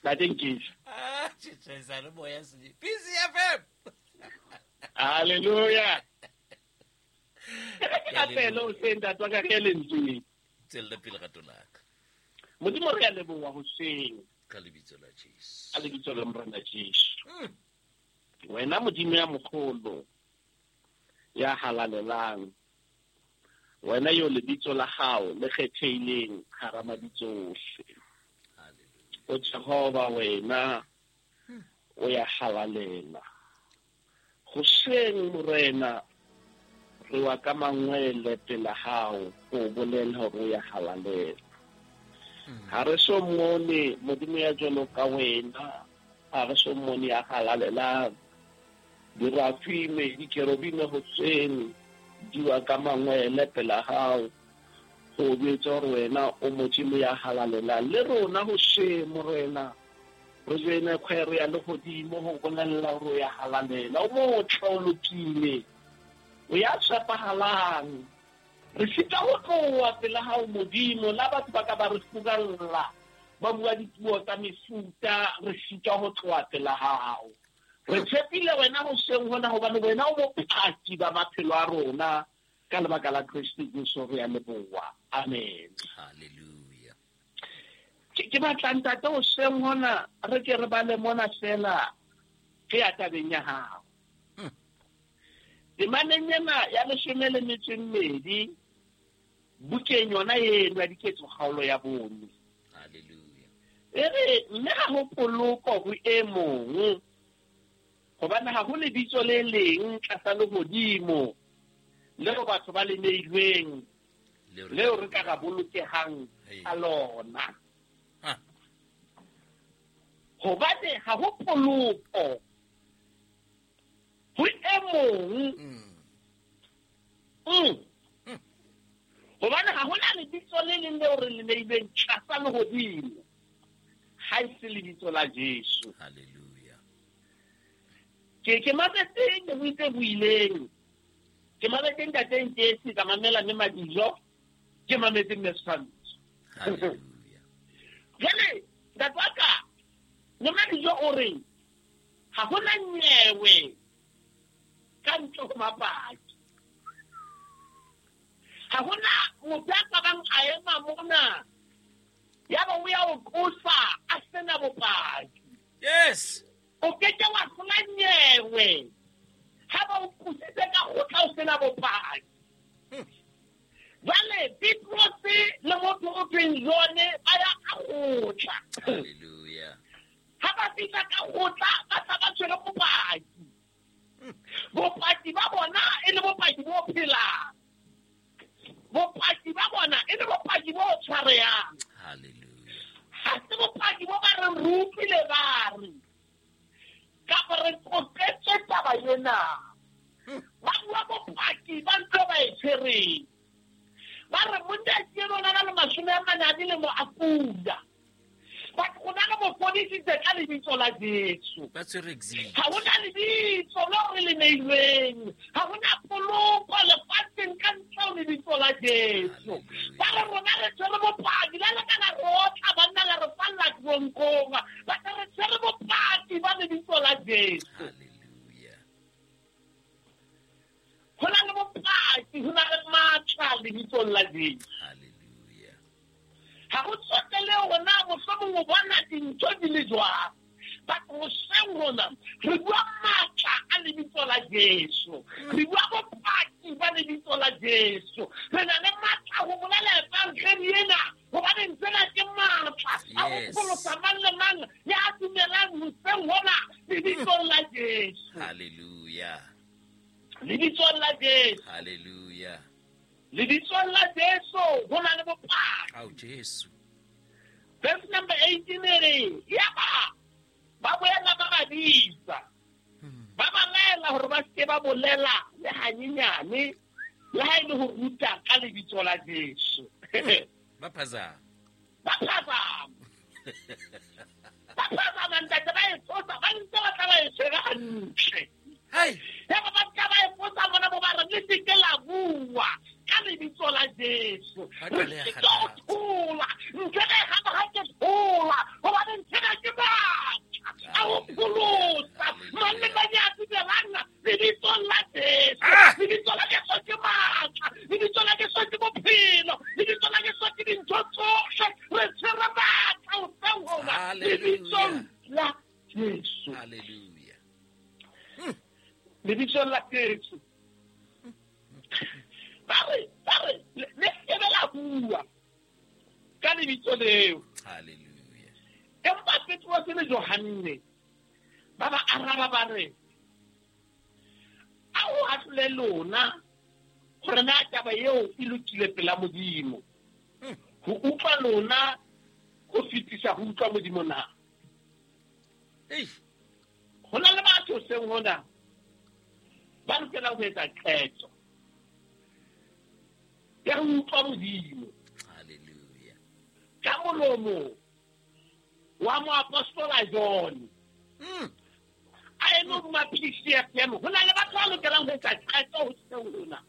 Ntate Nkisi. Ah, tjhe le moya se. PCFM. Hallelujah. Ke rapele o se ntate wa ka re lentsweng. Tswella pele rato la ka. Modimo re a leboha hoseng. Ka lebitso la Jesu. Ka lebitso la Morena Jesu. Wena Modimo ya mogolo ya halalelang. Wena yo lebitso la hao le kgethehileng hara mabitso ohle. O Jehova wena o ya halalela. Hoseng Morena re wa ka mangwele pela hao ho bolela hore o ya halalela. Ha re so mmone Modimo ya jwalo ka wena, ha re so mmone ya halalelang. Dirafime, dikerubime hoseng di wa ka mangwele pela hao ho jwetsa hore wena o Modimo ya halalelang. Le rona hoseng Morena re joene kgwere ya lehodimo ho bolella hore o ya halalela. O motle, o lokile, o ya tshepahalang. Re sita ho tloha pela hao Modimo, la batho ba ka ba re furalla, ba bua dipuo tsa mefuta, re sita ho tloha pela hao. Re tshepile wena hoseng hona hobane wena o bopaki ba maphelo a rona ka lebaka la Kreste Jesu re a leboha. Amen. Hallelujah. Ke batla ntate hoseng hona re ke re bale mona fela re ya tabeng ya hao. Temaneng ena ya 12 bukeng yona eno ya Diketso kgaolo ya 4. Hallelujah. E re mme ha ho poloko ho e mong, hobane ha ho lebitso le leng tlasa lehodimo leo batho ba le neilweng leo re ka ra bolokehang ka lona. Hobane ha ho poloko ho e mong. Hobane ha hona lebitso le leng leo re le neilweng tlasa lehodimo ha e se lebitso la Jesu. Hallelujah. Ke mametse le buitse buileng. Ke mametse ntate Nkesi, ka mamela mme Madijo, ke mametse mme Setshwantsho. Hallelujah. Jwale ntate wa ka, mme Madijo o re ha hona nyewe ka ntle ho mapaki. Ha hona motho ya ka bang a ema mona ya ba o ya o qosa a sena bopaki. Yes. O ke ke wa hlola nyewe ha ba o qositse ka kgotla o sena bopaki. Jwale Petrose le motho o thweng Jone ba ya ka kgotla. Hallelujah. Ha ba fihla ka kgotla ba tla ba tshwere bopaki. Bopaki ba bona e le bopaki bo phelang. Bopaki ba bona e le bopaki bo tshwarehang. Hallelujah. Ha se bopaki bo ba reng re utlwile ba re kapa re qoqetswe taba ena. Ba bua bopaki ba ntho ba e tshwereng. Ba re monna ke yena o na le 40 a dilemo a kula. But o na le mo fodisitse ka lebitso la Jesu. Ba tshwere exhibit. Ha hona lebitso leo re le neilweng. Ha hona poloko lefatsheng ka ntle ho lebitso la Jesu. Ba re rona re tshwere bopaki, la le ka la re otla banna la re falla tronkong. Ba re re tshwere bopaki ba lebitso la Jesu. Hallelujah. Ho na le bopaki, ho na le matla lebitsong la Jesu. Hallelujah. Ha ho tsotele hore na mohlomong o bona dintho di le jwang. But hoseng hona re bua matla a lebitso la Jesu. Re bua bopaki ba lebitso la Jesu. Re na le matla ho bolela evangeli ena, hobane ntsena ke matla a ho pholosa mang le mang ya dumelang hoseng hona lebitsong la Jesu. Hallelujah. Lebitsong la Jesu. Hallelujah. Lebitsong la Jesu ho na le bopaki. Ao Jesu. Verse number 18 e re, yaba ba boela ba ba bitsa. Ba ba laela hore ba seke ba bolela le hanyenyane, le ha e le ho ruta ka lebitso la Jesu. Ba phazama. Ba phazama. Ba phazama ntate ba e tsosa, ba ntse ba tla ba e tshwere hantle. Hai. Yaba ba tla ba e potsa bona bo ba re le seke la bua ka lebitso la Jesu. Ba Re qaleha seke ho kgathatsa. thola. Ntho e gana ha ke thola, hobane ntho ena ke matla. rona lebitsong la Jesu. Hallelujah. Lebitsong la Jesu. Ba re le sebe la bua ka lebitso leo. Hallelujah. Empa Petrose le Johanne ba ba araba ba re, a o ahlole lona gore na taba eo e lokile pela Modimo. Ho utlwa lona ho fetisa ho utlwa Modimo na? Ho na le batho seng hona ba lokelang ho etsa qeto ya ho utlwa Modimo. Hallelujah. Ka molomo wa moapostola John a eme hodima PCFM, ho na le batho ba lokelang ho etsa qeto ho seng hona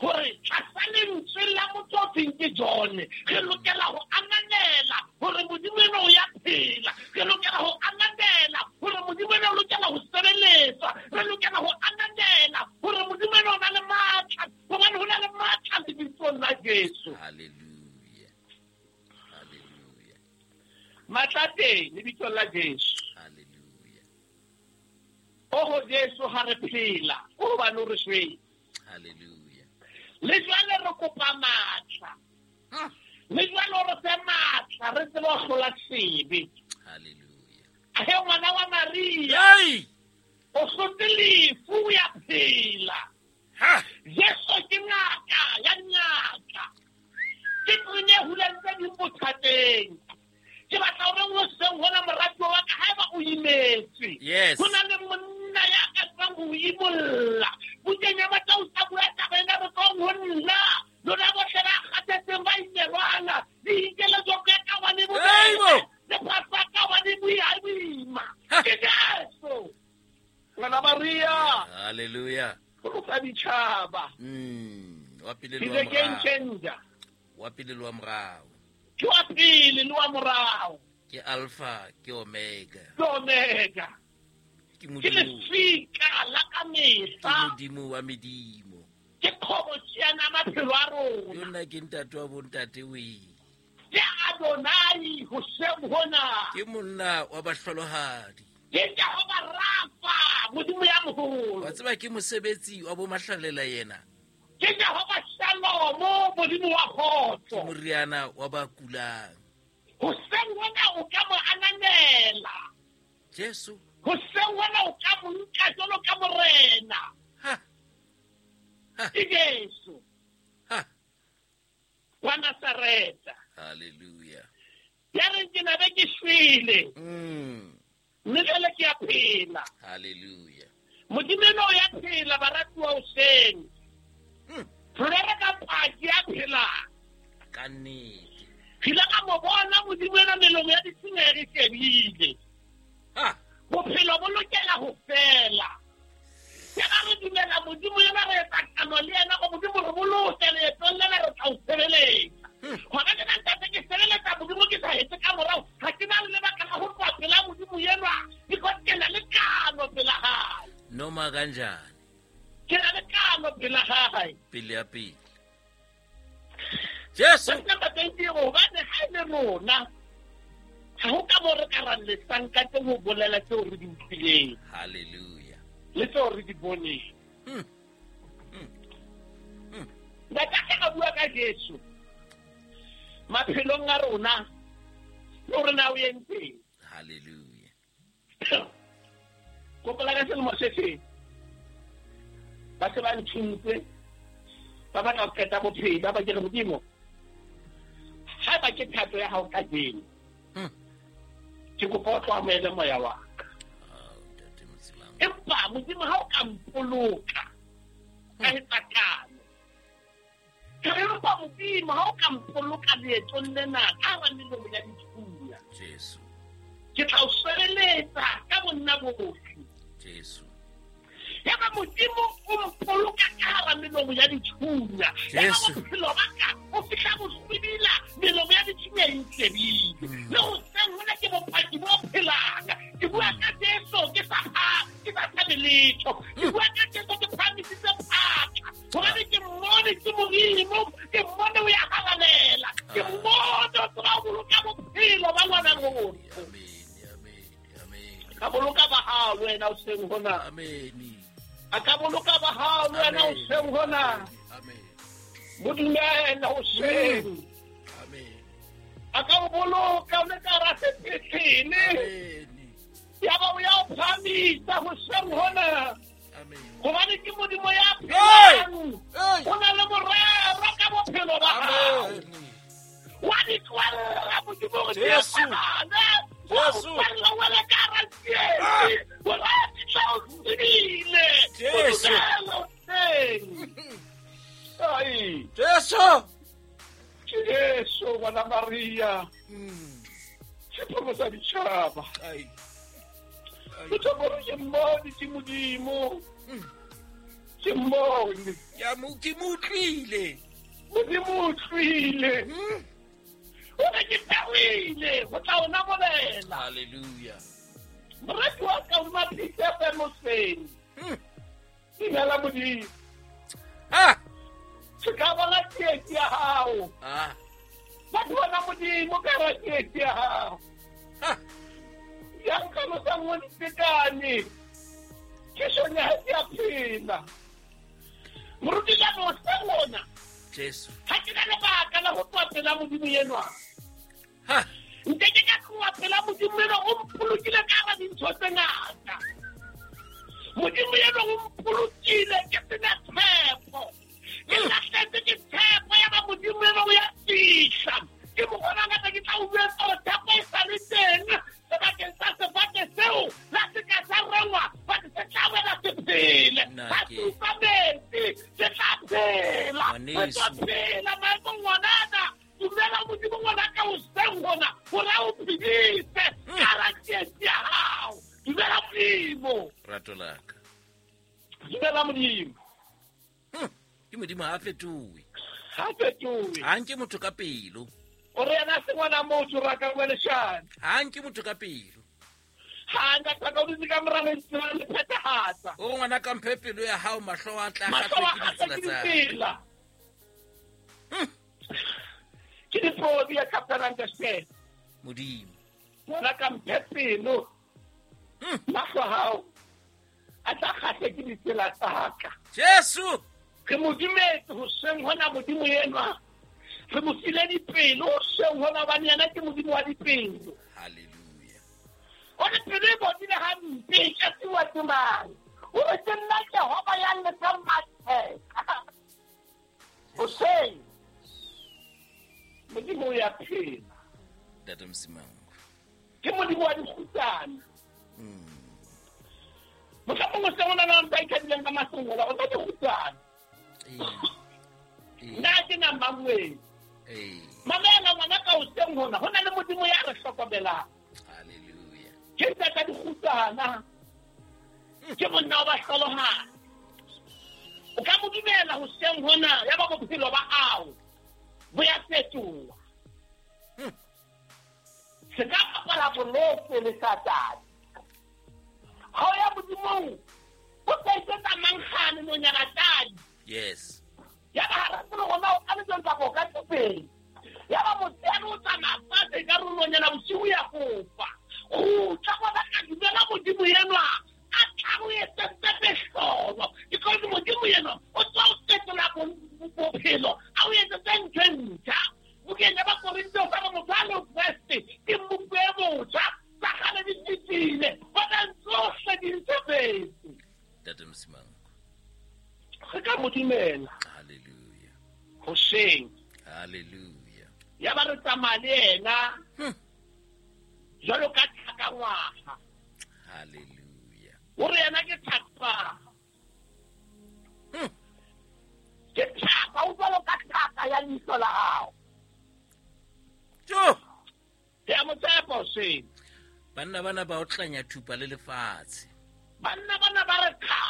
hore tlasa lentswe la motho o thweng ke John, re lokela ho ananela hore Modimo ena o ya phela. Re lokela ho ananela hore Modimo ena o lokela ho sebeletswa. Re lokela ho ananela hore Modimo ena o na le matla, hobane ho na le matla lebitsong la Jesu. Hallelujah. Hallelujah. Matla teng lebitsong la Jesu. Hallelujah. Oho Jesu ha re phela, o hobane o re shwele. Hallelujah. Le jwale re kopa matla. Le jwale re fe matla, re tsebe ho hlola sebe. Hallelujah. He ngwana wa Maria. O hlotse lefu ya phela. Jesu ke ngaka ya ngaka. Ke tsenye hulang tse ding bothateng. Ke batla hore o seng hona moratuwa wa ka haeba o imetswe. Yes. Ho na le monna ya ka tsebang ho imolla. Bukeng ya Mattheu a bua taba ena re tswang ho nna. Lona bohle ba kgathetseng ba imelwang, le inkele joko ya ka hobane bo le phahlo ya ka hobane boima. Ke Jesu. Ngwana Maria. Hallelujah. Pholosa ditjhaba. Wa pele le wa He's a game morao. changer. Wa pele le wa morao. Ke wa pele le wa morao. Ke Alpha, ke Omega. Ke Omega. Ke Ke Modimo. lefika la ka Ke mehla. Modimo wa medimo. Ke kgoboketso maphelo a rona. Ke nna ke ntate wa bontate we. Ke Adonai hoseng hona. Ke monna wa bahlolohadi. Ke Jehova Rafa, Modimo ya moholo. Wa tseba ke mosebetsi wa bo mahlalela yena. Ke Jehova Shalom, Modimo wa kgotso. Ke moriana wa ba kulang. Hoseng hona o ka mo ananela. Jesu. Hoseng hona o ka mo nka jwalo ka morena. Ha. Ke Jesu. Ha. Wa Nazareta. Hallelujah. Ya reng ke na be ke shwele. Mme jwale ke a phela. Hallelujah. Modimo ena o ya phela baratuwa hoseng. Re rere ka paki ya phelang. Ka nnete. Re ile ka mo bona Modimo ena melomo ya ditshenyeho e shebile. Ha. Bophelo bo lokela ho fela. Ke ga re dumela Modimo ena re etsa kano le yena go Modimo re boloke leetong lena re tla o sebeletsa. Hona ke nna ntate ke sebeletsa Modimo ke sa hetse ka morao. Ha ke na le lebaka la ho tloha pela Modimo enwa, because ke na le kano pela hae. Noma kanjani? Ke na le kano pela hae. Pele ya pele. Jesu. Verse number 20, hobane ha e le rona, ha ho ka mo re ka ra lesang ka teng ho bolela tseo re di utlwileng. Hallelujah. Le tseo re di boneng. Ntate a bua ka Jesu maphelong a rona, le hore na o entseng. Hallelujah. Kopola ka selemo se seng, ba se ba nthuntse, ba batla ho qeta bophelo, ba ba ke re Modimo, haeba ke thato ya hao kajeno, ke kopa o tlo amohele moya wa ka. Empa Modimo ha o ka mpoloka ka etsa kano, ke re empa Modimo ha o ka mpoloka leetong lena ka hara melomo ya dithunya, Jesu, ke tla o sebeletsa ka bonna bohle. Jesu. Yaba Modimo o mpoloka ka hara melomo ya dithunya. Yaba bophelo ba ka o fihla boswibila, melomo ya dithunya e ntlebile. Le hoseng hona ke bopaki bo phelang. Ke bua ka Jesu ke sa tshabe letho. Ke bua ka Jesu ke phahamisitse phatla. Hobane ke mmone ke Modimo, ke mmone o ya halalela. Ke mmone o tseba ho boloka bophelo ba ngwana rona. Amen. Amen. Amen. Ka boloka ba hao le wena hoseng hona. Amen. A ka boloka ba hao le wena hoseng hona. Amen. Mo dumela hoseng. Amen. A ka o boloka o le ka hara sepetlele. Amen. Ya ba o ya o phahamisa hoseng hona. Amen. Hobane ke Modimo ya phelang. Hey. O na le morero ka bophelo ba hao. Amen. Wa di tlohella Modimo hore di Jesu. etsahale. Wa o Jesu. tlohella o le ka hara tsietsi. Hore a fihla o tsebile. Jesu. O dumela hoseng. Ai, Jesu. Jesu ngwana Maria. Sephoko sa ditjhaba. Ai. Ai. Ke thoboro ke mmone ke Modimo. Ke mmone. Ya mo ke mo utlwile. Modimo o tlwile. O re ke tawile go tla o namolela. Hallelujah. Morati wa ka o maphise moseng. Dumela Modimo. Ha. Se ka bona tsietsi ya hao. Ah. Ba bona Modimo ka hara tsietsi ya hao. Ha. Ya nkalosang o ditekane. Ke sone ha ke a phela. Moruti ka hoseng hona. Jesu. Ha ke na lebaka la ho tloha pela Modimo enwa. Ha. Nke ke ka tloha pela Modimo enwa, o mpolokile ka hara dintho tse ngata. Modimo enwa o mpolokile ke sena tshepo. Ke lahlehetswe ke tshepo ya ba Modimo enwa o ya fihla. Ke mo bona ngata ke tla o jwetsa hore tshepo e sa le teng sebakeng sa sefate seo la se ka sa rengwa, but se tla wela se phele. Nna Ha ke- se utlwa metsi, se tla phela. Ngwaneso. Se tla phela maemong ngwanana. Dumela Modimo ngwana ka hoseng hona, hore a o phedise ka hara tsietsi ya hao. Dumela Modimo. Rato la ka. Dumela Modimo. Ke Modimo ha a fetohe. Ha fetohe. Ha nke motho ka pelo. O re yena se ngwana motho ra ka bua leshano. Ha nke motho ka pelo. Ha nka ka o dutse ka mora lentswe la le phethahatsa. O re ngwana ka mphe pelo ya hao, mahlo a tla Mahlo a kgahlwe ke kgahlwe ditsela ke tsa. ditsela. Ke dipodi ya Captain Understand. Modimo. Ngwana ka mphe pelo. Mahlo a hao a tla kgahlwe ke ditsela tsa ka. Jesu. Re mo dumetse hoseng hona Modimo enwa. Re mo file dipelo hoseng hona hobane yena ke Modimo wa dipelo. Hallelujah. O re pelo e bodile hampe, e ka siwa ke mang? O re ke nna Jehova ya lefang matheka. Hoseng Modimo o ya phela. Ntate Msimango. Ke Modimo wa dikgutsana. Mohlomong hoseng hona na ntho a ikadileng ka masongola, o tla dikgutsana. Nna ke na Mangweng. Mamela ngwana ka hoseng hona, ho na le Modimo ya re hlokomelang. Hallelujah. Ke ntata dikgutsana. Ke monna wa bahlolohadi. O ka mo dumela hoseng hona, ya ba bophelo ba hao bo ya fetoha. Se ka bapala boloko le Satane. Ha o ya Modimong, o tla iketsa mankgane nonyana tadi. Yes. Ya ba ha re tsebe hore na o ka letsong kapa o ka thupeng. Ya ba motshehare o tsamaya fatshe ka nonyana bosiu ya fofa. Kgutla ngwana ka dumela Modimo enwa a tla o etsetse mehlolo. Because Modimo enwa o tswa o fetola bophelo, a o etsetse ntho e ntjha. Bukeng ya Bakorinthe o fa re motho a le ho Kreste ke mmupo e motjha, tsa kgale di fetile, bona tsohle di ntshefetse. Ntate Msimango. Re ka mo dumela. Hallelujah. Hoseng. Hallelujah. Ya ba re tsamaya le yena. Jwalo ka thakangwaha. Hallelujah. O re yena ke thaka. Ke thaka, o jwalo ka thaka ya leihlo la hao. Jo. Ke a mo tshepa hoseng. Banna bana ba o tlanya thupa le lefatshe. Banna bana ba re kha.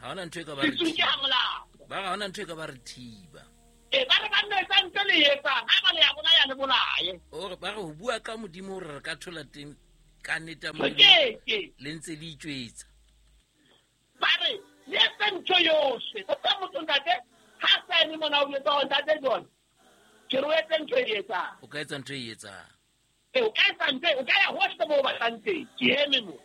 Ha hona ntho e ka ba re Ke tsuke thiba. ha molao. Ba re ha hona ntho e ka ba re thiba. E ba re banna e santse le etsang, ha ba le ya bolaya le bolaye. O re ba re ho bua ka Modimo hore re ka thola teng ka nnete ya Re Modimo. keke. Le ntse le itjwetsa. Ba re le etse ntho yohle. O tla motho ntate, ha sa eme mona o jwetsa hore ntate John, ke re o etse ntho e etsang. O ka etsa ntho e etsang. O ka etsa ntho, o ka ya hohle moo o batlang teng. Ke eme mo.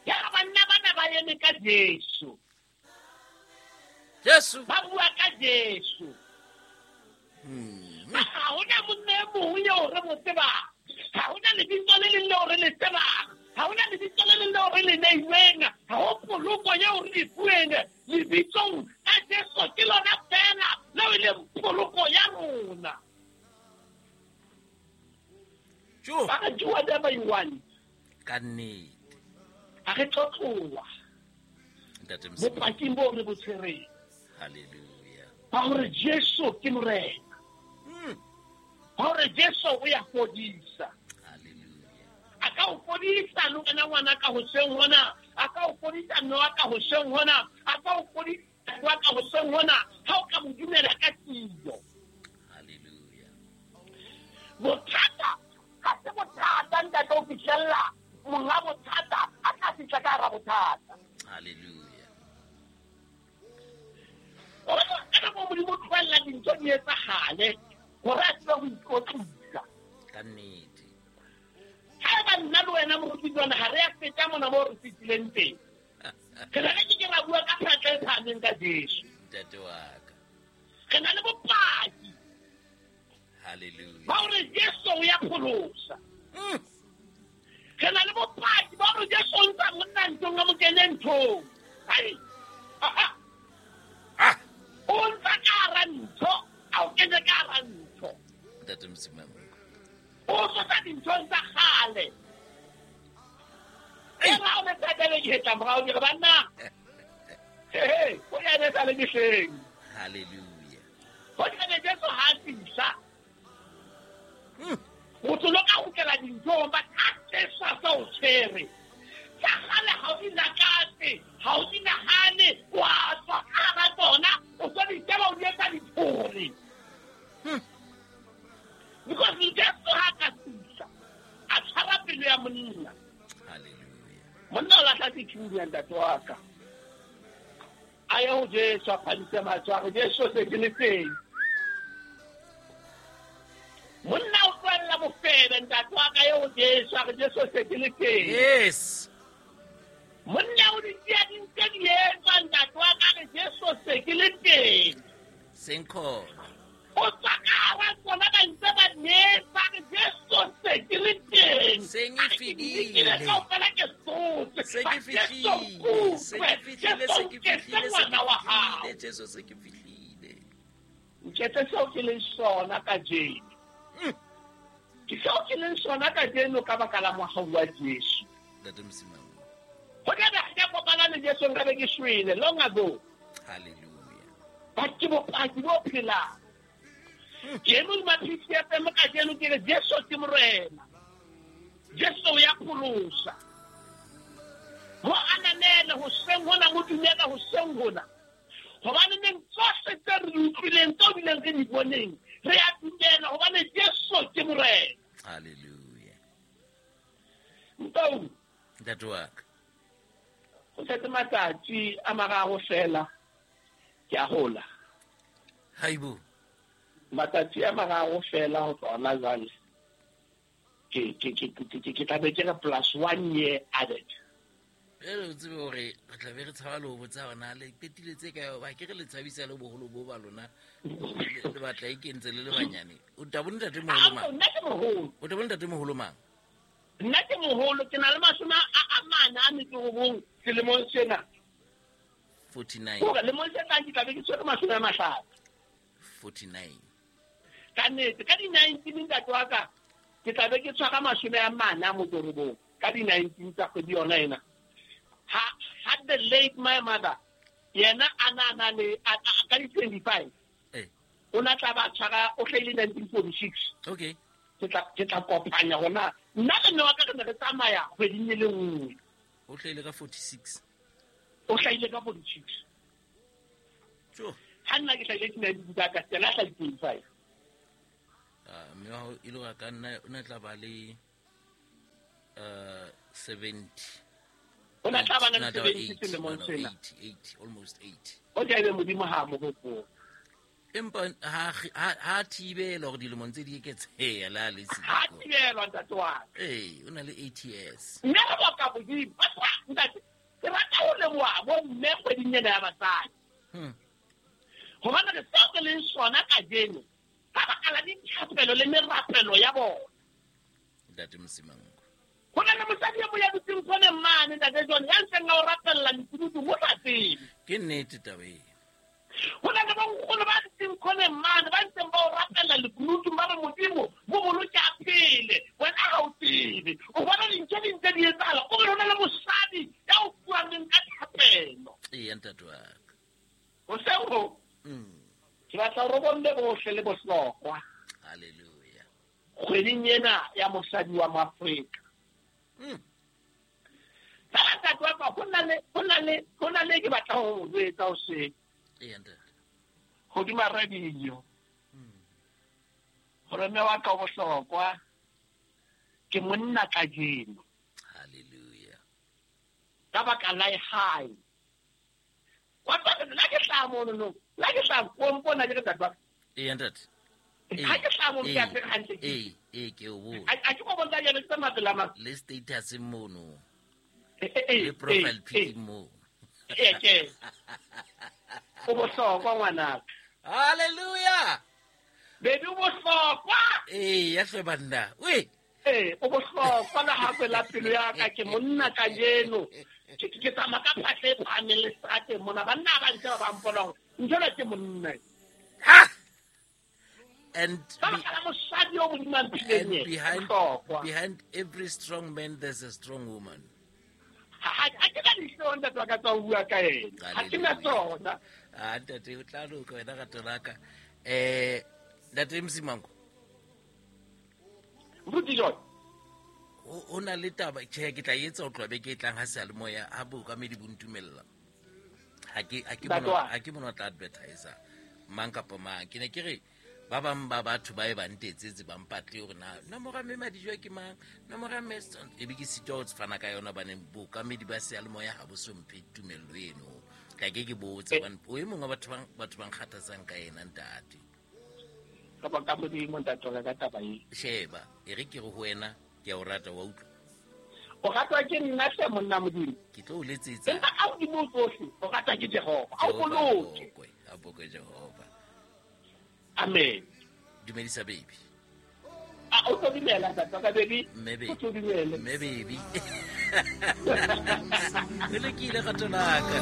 Ya banna bana ba eme ka Jesu. Jesu. Ba bua ka Jesu. Ha hona monna e mong eo re mo tsebang. Ha hona lebitso le leng leo re le tsebang. Ha hona lebitso le leng leo re le neilweng. Ha ho poloko eo re e fuweng. Lebitsong la Jesu ke lona feela leo e leng poloko ya rona. Ba re do whatever you want. Ka nnete. Ha re tlo tloha. Ntate Mosima. Bopaking boo re bo tshwereng. Hallelujah. Ba hore Jesu ke Morena. Ba hore Jesu o ya fodisa. Hallelujah. A ka o fodisa le wena ngwana ka hoseng hona. A ka o fodisa mme wa ka hoseng hona. A ka o fodisa wa ka hoseng hona. Ha o ka mo dumela ka tiyo. Hallelujah. Bothata ha se bothata ntate o fihlella monga bothata a tla fihla ka hara bothata. Hallelujah. Ka nako Modimo o tlohella dintho di etsahale hore a tsebe ho ikwetlisa. Ka nnete. Haeba nna le wena moruti jwana ha re a feta mona moo re fihlileng teng, re ne re ke ke ra bua ka phatla e phahameng ka Jesu. Ntate wa ka. Re na le bopaki. Hallelujah. Ba hore Jesu o ya pholosa. Re na le bopaki ba hore Jesu o ntsha monna nthong a mo kene nthong. Ai. Ah. O ntsha ka hara ntho, a o kene ka hara ntho. Ntate Msimang. O tlosa dinthong tsa kgale. E ra o ne thatele ke hetla morao ke re banna. He, o ya ne sa le mehleng. Hallelujah. Ho tla Jesu ha a fihla. Motho lo ka kgutlela dinthong, but ha Jesu a sa o tshwere. Tsa kgale ha o di lakatse, ha o di nahane, wa tswa ka hara tsona, o so di sheba o di etsa diphole. Because Jesu ha ka fihla, a tshwara pelo ya monna. Hallelujah. Monna o lahla sethunya ntate wa ka. A ye ho Jesu a phamise matsoho a re, Jesu se ke le teng. Monna o tlohella bofebe ntate wa ka ye ho Jesu a re, Jesu se ke le teng. Yes. Monna o di tseya di ntse di etswa ntate wa ka re, Jesu se ke le teng. Senkhona. O tswa ka hara tsona ba ntse ba netsa re, Jesu se ke le teng. Seng e A re, ke di lekile fedile. kaofela ke sotse. Se ke Jesu fihlile, se ke nkutlwe. fihlile, Jesu se ke nketse fihlile, se ke ngwana wa hao. fihlile, Jesu se ke fihlile. Nketse seo ke leng sona kajeno. Ke seo ke leng sona kajeno ka baka la mohau wa Jesu. Ntate Msimang. Ho tla be ha ke a kopana le Jesu nka be ke shwele long ago. Hallelujah. But ke bopaki bo phelang. Ke eme hodima PCFM kajeno ke re Jesu ke Morena. Jesu o ya pholosa. Mo ananele hoseng hona, mo dumela hoseng hona. Hobane neng tsohle tse re di utlwileng, tseo bileng re di boneng, re a dumela hobane Jesu ke Morena. Hallelujah. Ntau. Ntate wa ka. Ho setse matsatsi a mararo fela ke a hola. Haibo. Matsatsi a mararo fela ho tloha hona jwale. Ke tla be ke re plus 1 year added. Jwale o tsebe hore re tla be re tshaba le ho botsa hore na le qetile tse kae, hoba ke re le tshabisa le boholo bo ba lona, le batla e kentse le le banyane. O tla bo ntate moholo mang? Nna ke moholo. O tla bo ntate moholo mang? Nna ke moholo, ke na le mashome a mane a metso e robong selemong sena. 49. Hore lemong se tlang ke tla be ke tshwere 50. 49. Ka nnete, ka di-19 ntate wa ka, ke tla be ke tshwara 49 ka di-19 tsa kgwedi yona ena. Ha the late my mother, yena a na na le, a, ka di-25. O na tla ba tshwara, o hlahile 1946. Okay. Ke tla kopanya hona. Nna le mme wa ka re ne re tsamaya kgweding e le nngwe. O hlahile ka 46. O hlahile ka 46. Tjo. Ha nna ke hlahile ke nineteen tsa ka, yena a hlahile 25. Mme wa hao e le hore a ka nna, o ne tla ba le, 70. O ne tla ba le O ne tla ba 70 eighty, selemong no, no, sena. 80, almost 80. O tla ebe Modimo ha a mo hopola. Empa ha thibela hore dilemong tse di eketseha la le Ha thibelwa ntate wa ka. Ee, o na le 8 years. Mme re boka Modimo. Ntate, ke rata ho leboha bo mme kgweding ena ya basadi. Hobane re seo re leng sona kajeno ka baka la dithapelo le merapelo ya bona. Ntate Mosimango. Ho na le mosadi e mong ya dutseng khoneng mane, Ntate John, ya ntseng a o rapella lekunutu mo sa tsebe. Ke nnete taba eo. Ho na le bonkgono ba dutseng khoneng mane, ba ntseng ba o rapella lekunutu, ba re Modimo, bo boloke a phele. Wena ha o tsebe. O bona dintho di ntse di etsahala, o re ho na le mosadi ya o fumaneng ka thapelo. Eya, ntate wa ka. Hoseng ho, ke batla hore bomme bohle le bohlokwa. Hallelujah. Kgweding ena ya mosadi wa Moafrika. Fela ntate wa ka, ho na le ke batla ho jwetsa hoseng. Eya, ntate. Hodima radio. Hore mme wa ka o bohlokwa, ke monna kajeno. Hallelujah. Ka baka la hae. Wa tseba, la ke hlaha mono no. La ke hlaha, o mpona ke re ntate wa ka. Eya, ntate. Ha ke hlaha mono, ke a tseba hantle. Ee, ke o bone. A ke go bontsha jalo, ke tsamaya pela mang? Le status mono. Le profile pic mo. Ee, ke. O bohlokwa ngwanaka. Hallelujah. Baby, o bohlokwa. Ee, ya hle banna. Oi. Ee, o bohlokwa le hape la pelo ya ka, ke monna kajeno. Ke tsamaya ka phahle e phahameng le seterateng mona, banna ba ntse ba ba mpona hore ntho ena ke monna. Ha! And Ka baka la mosadi o Modimo a mphileng yena, bohlokwa. behind every strong man there's a strong woman. Ha ke na dihlong, ntate wa ka, tsa ho bua ka ena. Ha ke na tsona. Ah, ntate, o tla loka wena rato la ka. Ntate Msimango. Moruti John. Ho na le taba, tjhe, ke tla etsa ho tloha beke e tlang ha seyalemoya, ha bookamedi bo ntumella. Ha ke mona o tla advertiser mang kapa mang. Ke ne ke re ba bang ba batho ba e ba ntetsetse ba mpatle hore na nomoro ya mme Madijwa ke mang, nomoro ya mme e be ke sitwa ho fana ka yona hobane bookamedi ba seyalemoya ha bo so mphe tumello eno. Ka ke ke botse hobane o e mong wa batho ba nkgathatsang ka yena ntate. Ka baka Modimo, ntate wa ka, ka taba e. Sheba, e re ke re ho wena, ke a o rata, wa utlwa? O ratwa ke nna hle, monna Modimo. Ke tlo o letsetsa. Empa ka hodimo ho tsohle, o ratwa ke Jehova. A o Jehova, boloke. a bokwe Jehova. Amen. Dumedisa baby. A o tlo dumela, ntate wa ka, baby? Mme baby. O tlo dumela. Mme baby. O lokile, rato la ka.